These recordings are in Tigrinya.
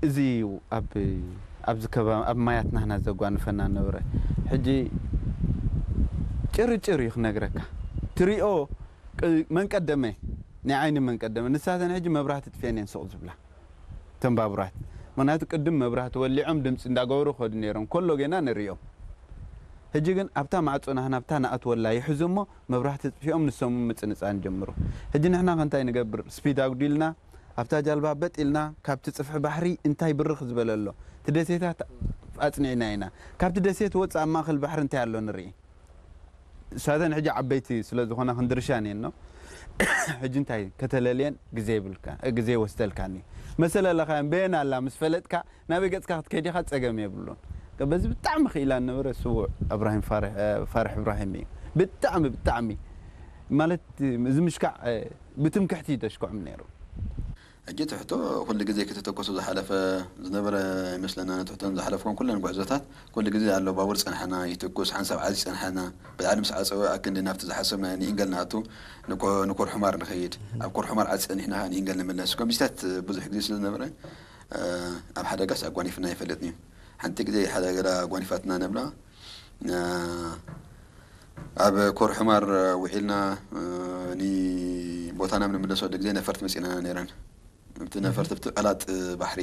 እዚ እዩ ኣብ ኣብዚ ከባቢ ኣብ ማያት ናህና ዘጓንፈና ነበረ። ሕጂ ጭርጭር እዩ ክነግረካ። ትሪኦ መን ቀደመ፣ ናይ ዓይኒ መን ቀደመ። ንሳተን ሕጂ መብራህቲ ጥፍኤን እየን ስቕ ዝብላ፣ ተን ባቡራት። ምኽንያቱ ቅድም መብራህቲ ወሊዖም ድምፂ እንዳገበሩ ከዱ ነይሮም፣ ኮሎ ጌና ንሪኦም። ሕጂ ግን ኣብታ ማዕፆ ናህና ኣብታ ንኣትወላ ይሕዙ እሞ መብራህቲ ጥፊኦም ንሶም ምፅንፃን ጀምሩ። ሕጂ ንሕና ከ እንታይ ንገብር? ስፒድ ኣጉዲልና ኣብታ ጃልባ በጥ ኢልና ካብቲ ጽፍሒ ባሕሪ እንታይ ብርኽ ዝበለ ኣሎ? እቲ ደሴታት ኣጽኒዕና ኢና። ካብቲ ደሴት ወጽእ ኣብ ማእከል ባሕሪ እንታይ ኣሎ ንርኢ? እሳተን ሕጂ ዓበይቲ ስለ ዝኾና ክንድርሻን እየን ነው። ሕጂ እንታይ ከተለልየን ግዜ ይብልካ፣ ግዜ ይወስደልካን እዩ። መሰለለኻየን በየን ኣላ ምስ ፈለጥካ ናበይ ገጽካ ክትከይድ ኢኻ ጸገም የብሉን። በዚ ብጣዕሚ ክኢላ ነበረ ስዉእ እብራሂም ፋርሕ፣ ፋርሕ እብራሂም እዩ። ብጣዕሚ፣ ብጣዕሚ ማለት እዚ ምሽካዕ ብትምክሕቲ እዩ ደሽክዖም ነይሩ። ሕጂ ትሕቶ ኩሉ ግዜ ክትተኮሱ ዝሓለፈ ዝነበረ ይመስለና። ንትሕቶን ዝሓለፍኩም ኩለን ጉዕዞታት ኩሉ ግዜ ኣሎ። ባቡር ጸንሐና ይትኩስ፣ ሓንሳብ ዓዚ ጸንሐና። ብልዓሊ ምስ ዓጸወ ኣክንዲ ናብቲ ዝሓሰብና ንኢንገል ንኣቱ፣ ንኮ-፣ ንኮር ሑማር ንኸይድ። ኣብ ኮር ሑማር ዓዚ ጸኒሕና ንኢንገል ንምለስ። ከምዚታት ብዙሕ ግዜ ስለ ዝነበረ፣ እ፣ ኣብ ሓደጋስ ኣጓኒፍና ኣይፈልጥን እዩ። ሓንቲ ግዜ ሓደጋ ኣጓኒፋትና ነብላ፣ እ፣ ኣብ ኮር ሑማር ውዒልና፣ እ፣ ንቦታና ንምለሰሉ ግዜ ነፈርቲ መጺእና ነይረን። ኣብቲ ነፈርቲ፣ ኣብቲ ቀላጥ ባሕሪ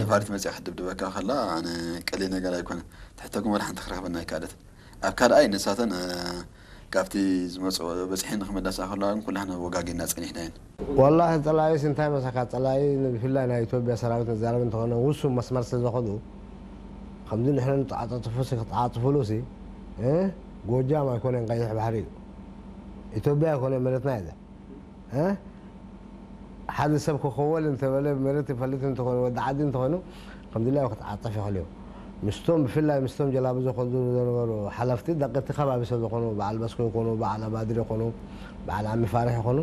ነፋሪት መጺኣ ክትድብድበካ ከላ፣ ኣነ ቀሊል ነገር ኣይኮነን። ትሕተኩም ወላ ሓንቲ ክረኽበና ኣይከኣለትን። ኣብ ካልኣይ ንሳተን፣ እ፣ ካብቲ ዝመጽኦ በጺሐን ንክመለሳ ከለዋ ግን ኩላህና ወጋጊና ጸኒሕና እየን። ወላሂ ጸላኢስ እንታይ መሳካ፣ ጸላኢ ብፍላይ ናይ ኢትዮጵያ ሰራዊት ንዛረብ እንተኾነ ውሱን መስመር ስለ ዘኸዱ፣ ከምዚ ንሕና ንተዓጻጽፉ ሲ ክትዓጽፉሉ ሲ፣ እ፣ ጎጃም ኣይኮነን ቀይሕ ባሕሪ እዩ። ኢትዮጵያ ኣይኮነን መሬትና እየ። እ? ሓደ ሰብ ክኸወል እንተበለ መሬት ይፈልጥ እንተኾይኑ፣ ወዲ ዓዲ እንተኾይኑ፣ ከም ድላዩ ክትዓጸፍ ይኽእል እዩ። ምስቶም፣ ብፍላይ ምስቶም ጀላቡ ዘኸዱ ዝነበሩ ሓለፍቲ፣ ደቂ እቲ ከባቢ ሰብ ዝኾኑ፣ በዓል በስኮ ይኾኑ፣ በዓል ኣባድር ይኾኑ፣ በዓል ዓሚ ፋርሕ ይኾኑ፣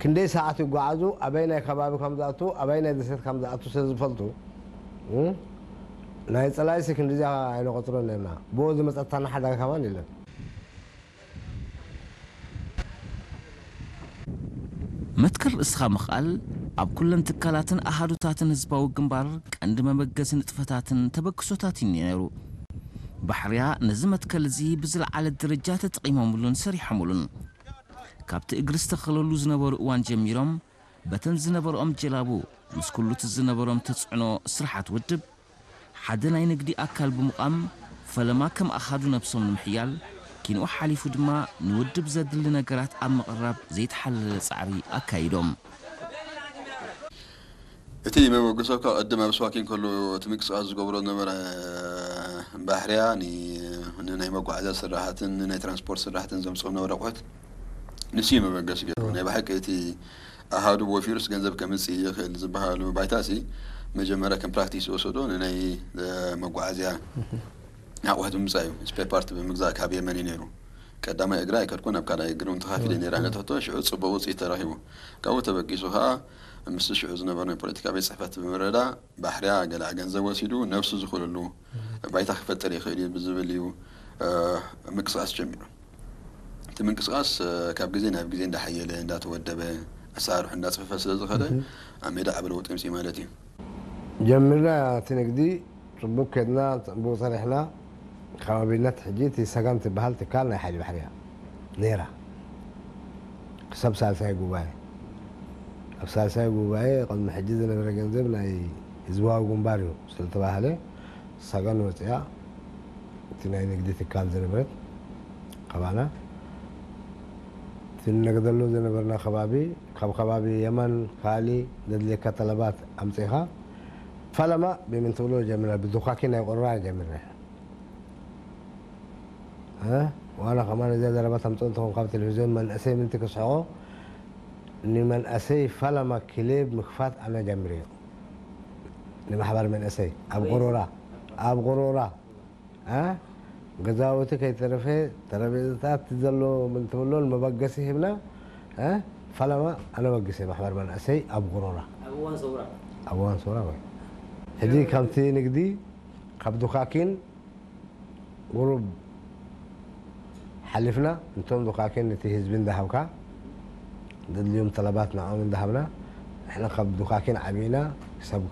ክንደይ ሰዓት ይጓዓዙ፣ ኣበይ ናይ ከባቢ ከም ዝኣቱ፣ ኣበይ ናይ ደሴት ከም ዝኣቱ ስለ ዝፈልጡ፣ እ? ናይ ጸላኢሲ ክንዲዚኣ ኣይንቆጽሮን ነርና። ብኡ ዝመጸታና ሓደጋ ከማን የለን። መትከል ርእስኻ ምኽኣል ኣብ ኩለን ትካላትን ኣሃዱታትን ህዝባዊ ግንባር ቀንዲ መበገሲ ንጥፈታትን ተበግሶታትን እዩ ነይሩ። ባሕርያ ነዚ መትከል እዚ ብዝለዓለ ደረጃ ተጠቒሞምሉን ሰሪሖምሉን። ካብቲ እግሪ ዝተኸለሉ ዝነበሩ እዋን ጀሚሮም በተን ዝነበርኦም ጀላቡ ምስ ኩሉ እቲ ዝነበሮም ተፅዕኖ ስራሓት ውድብ ሓደ ናይ ንግዲ ኣካል ብምዃም ፈለማ ከም ኣሃዱ ነብሶም ንምሕያል ኪንኡ ሓሊፉ ድማ ንውድብ ዘድሊ ነገራት ኣብ ምቕራብ ዘይተሓለለ ጻዕሪ ኣካይዶም። እቲ መበገሲ እኳ ቅድም ኣብ ስዋኪን ከሎ እቲ ምንቅስቃስ ዝገብሮ ዝነበረ ባሕርያ ንናይ መጓዓዝያ ስራሕትን ንናይ ትራንስፖርት ስራሕትን ዘምፅኦ ዝነበረ ኣቑሑት ንሱ እዩ መበገሲ ገይሩ ናይ ብሓቂ እቲ ኣሃዱ ወፊሩስ ገንዘብ ከምፅእ ይኽእል ዝበሃሉ ባይታሲ መጀመርያ ከም ፕራክቲስ ዝወሰዶ ንናይ መጓዓዝያ ኣቑሑት ምምፃእ እዩ። ስፔር ፓርት ብምግዛእ ካብ የመን እዩ ነይሩ። ቀዳማይ እግሪ ኣይከድኩን፣ ኣብ ካልኣይ እግሪ እውን ተኻፊለ ነይረ። ኣነ ትሕቶ ሽዑ ፅቡቕ ውፅኢት ተረኺቡ። ካብኡ ተበጊሱ ከዓ ምስቲ ሽዑ ዝነበረ ናይ ፖለቲካ ቤት ፅሕፈት ብምርዳእ ባሕርያ ገለ ገንዘብ ወሲዱ ነብሱ ዝኽእለሉ ባይታ ክፈጥር ይኽእል እዩ ብዝብል እዩ ምንቅስቃስ ጀሚሩ። እቲ ምንቅስቃስ ካብ ግዜ ናብ ግዜ እንዳሓየለ እንዳተወደበ ኣሰራርሑ እንዳፅፈፈ ስለ ዝኸደ ኣብ ሜዳ ዓቢ ለውጢ ኣምፅኡ ማለት እዩ። ጀሚርና እቲ ንግዲ ፅቡቅ ከድና ፅቡቅ ሰሪሕና ከባቢነት ሕጂ እቲ ሰጋን ትበሃል ትካል ናይ ሓይሊ ባሕሪ እያ ነይራ ክሳብ ሳልሳይ ጉባኤ ኣብ ሳልሳይ ጉባኤ ቅድሚ ሕጂ ዝነበረ ገንዘብ ናይ ህዝባዊ ግንባር እዩ ስለተባህለ ሰጋን ወፅያ እቲ ናይ ንግዲ ትካል ዝነበረት ካባና እቲ ንነግደሉ ዝነበርና ከባቢ ካብ ከባቢ የመን ካሊ ዘድልየካ ጠለባት ኣምፂኻ ፈለማ ብምን ትብሎ ጀምረ ብዱኻኪ ናይ ቁርራ ጀምረ ዋና ከማን እዚኣ ዘረባ ተምፅኦ እንትኾን ካብ ቴሌቪዝዮን መንእሰይ ምንቲ ክስሕቆ ንመንእሰይ ፈለማ ክሌብ ምክፋት ኣነ ጀምርዮ ንማሕበር መንእሰይ ኣብ ቁሩራ ኣብ ቁሩራ ገዛውቲ ከይተረፈ ተረቤዛታት ዘሎ ምንትብሎ ንመበገሲ ሂብና ፈለማ ኣነ በጊሰ ማሕበር መንእሰይ ኣብ ጉሮራ ኣብ እዋን ሰውራ ወይ ሕጂ ካብቲ ንግዲ ካብ ዱካኪን ቁሩብ ሓሊፍና እንቶም ዱካኪን ነቲ ህዝቢ እንዳሃብካ ዘድልዮም ጠለባት ንዕኦም እንዳሃብና ንሕና ካብ ዱካኪን ዓቢና ክሳብ